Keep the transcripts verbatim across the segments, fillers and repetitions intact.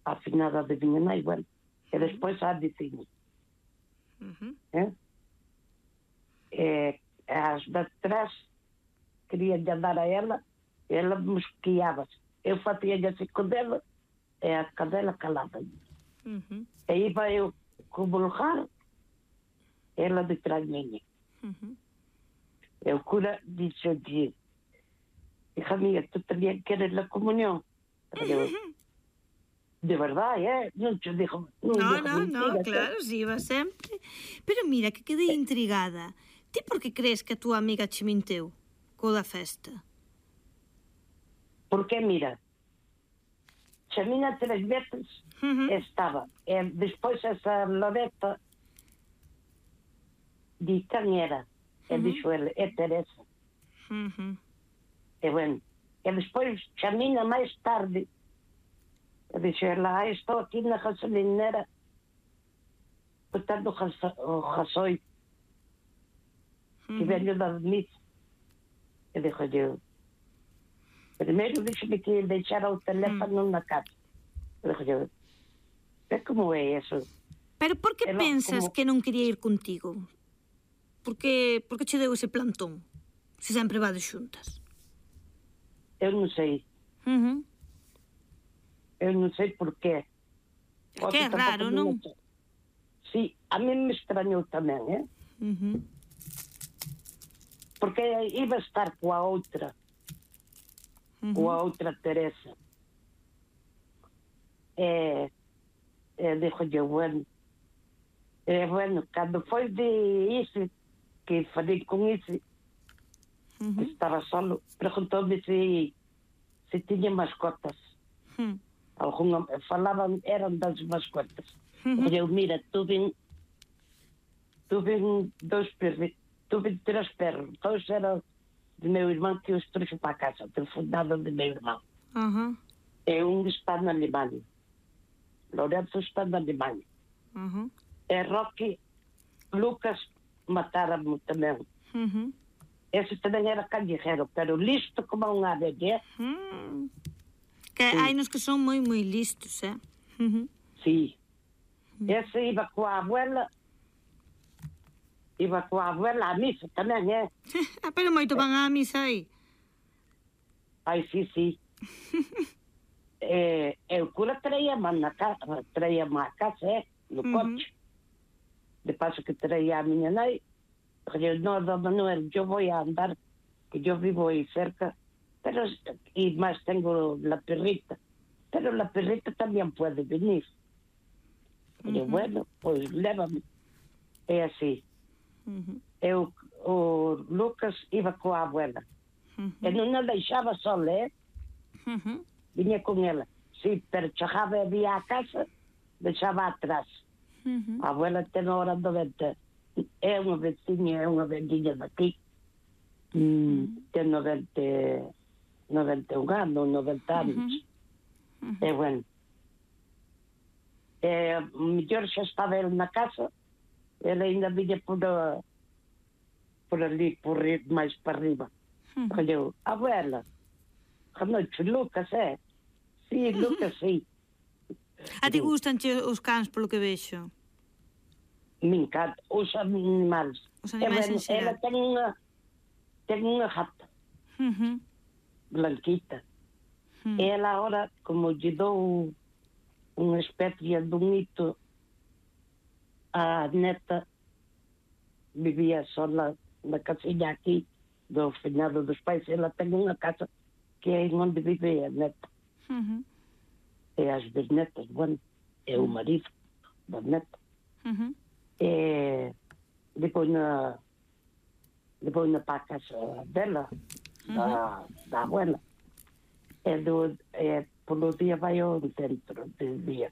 a finada de miña nai, bueno, e despois a de cine. Uh-huh. Eh? E as de atrás querían dar a ela, e ela mosqueava-se. Eu facía-lhe assim com dela, e a cadela calada. Uh-huh. E iba eu cavalgar, ela de trás minha. Uh-huh. E o cura disse-lhe, hija mía, tú también quieres la comunión. Pero, de verdad, ¿eh? Non te digo, non No, digo no, no, mentira, claro, si iba sempre. Pero mira, que quedei intrigada. Ti por que crees que a túa amiga che minteu co da festa? Porque, mira, chamina tres veces Uh-huh. estaba. E despois esa Loreta di quen era. E Uh-huh. dixo ele, é Teresa. Uh-huh. E bueno, e despois chamina máis tarde. E dixo ela, ah, estou aquí na gasolinera botando o gasoil. Que Uh-huh. veño da misa. E dixo eu, primeiro dixo-me que deixara o teléfono na casa. E dixo eu, é como é eso? Pero por que Ela, pensas como... que non quería ir contigo? Por que, por que che deu ese plantón? Se sempre vades xuntas. Eu non sei. Uh-huh. Eu non sei por qué. É que é raro, non? Me... Sí, a mí me extrañou tamén, eh? Uh-huh. Porque iba a estar coa outra. Uh-huh. Coa outra Teresa. E, e dixo-lle, bueno, e, bueno, cando foi de Isi, que falei con Isi, uh-huh. que estaba solo, preguntou-me se, se tiña mascotas. Uh-huh. Alguna, falaban, eran das mascotas. Uh-huh. Eu, mira, tuve, tuve dois perros, tuve tres perros, todos eram de meu irmão que os trouxe para casa, do fundado de meu irmão. Uh-huh. E um está na Alemanha. Lourenço está na Alemanha. Uh-huh. E Rocky, Lucas mataram-me também. Uh-huh. Esse também era callejeiro, pero listo como um ave, né? Uh-huh. Que hai nos que son moi, moi listos, eh? Uh-huh. Sí. Uh-huh. Ese iba coa abuela, iba coa abuela a misa tamén, eh? Ah, pero moito van á misa aí. Ai, sí, sí. eh, e o cura traía-me na casa, traía-me a casa, eh? No uh-huh. coche. De paso que traía a miña nai, eu, no, don Manuel, yo voy a andar, que yo vivo aí cerca, pero, y más tengo la perrita, pero la perrita también puede venir. Uh-huh. Eu, bueno, pues lévame. É así. Uh-huh. Eu, o Lucas iba coa abuela. Uh-huh. E non a deixaba sola, eh? Uh-huh. Viña con ela. Sí, pero chegaba e vía a casa, deixaba atrás. Uh-huh. A abuela ten hora noventa. É unha veciña, é unha vendinha daqui. Uh-huh. Ten noventa, noventa e un anos, noventa anos. Uh-huh. Uh-huh. E bueno. E mellor xa estaba ele na casa, ele ainda viña por, a, por ali, por máis para arriba. Uh-huh. Eu, abuela, a noite, Lucas, é? Sí, Lucas, sí. A ti gustanche os cans, polo que vexo? Me encanta. Os animais. Os animais en xeral. Ela ten unha, ten unha gata. Uh-huh. Blanquita. Uh-huh. E ela agora, como lle dou unha especie dun hito, a neta vivía sola na casiña aquí do finado dos pais. Ela ten unha casa que é onde vive a neta. Uh-huh. E as bisnetas, bueno, é o marido da neta. Uh-huh. E depois na depois na para a casa dela, uh-huh. da, da abuela. E, do, e polo dia vai ao centro do dia.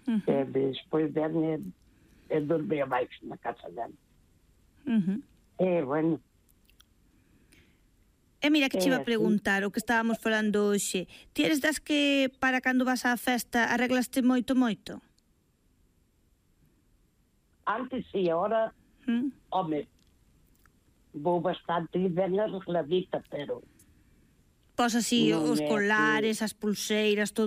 Uh-huh. E depois vem e, e dorme abaixo na casa dela. Uh-huh. E, bueno. E mira que che iba a preguntar o que estábamos falando hoxe. Ti eres das que para cando vas á festa arreglaste moito, moito? Antes sí, ahora, ¿Mm? Home, vou bastante ben arregladita, pero... Pois así, os colares, as pulseiras, todo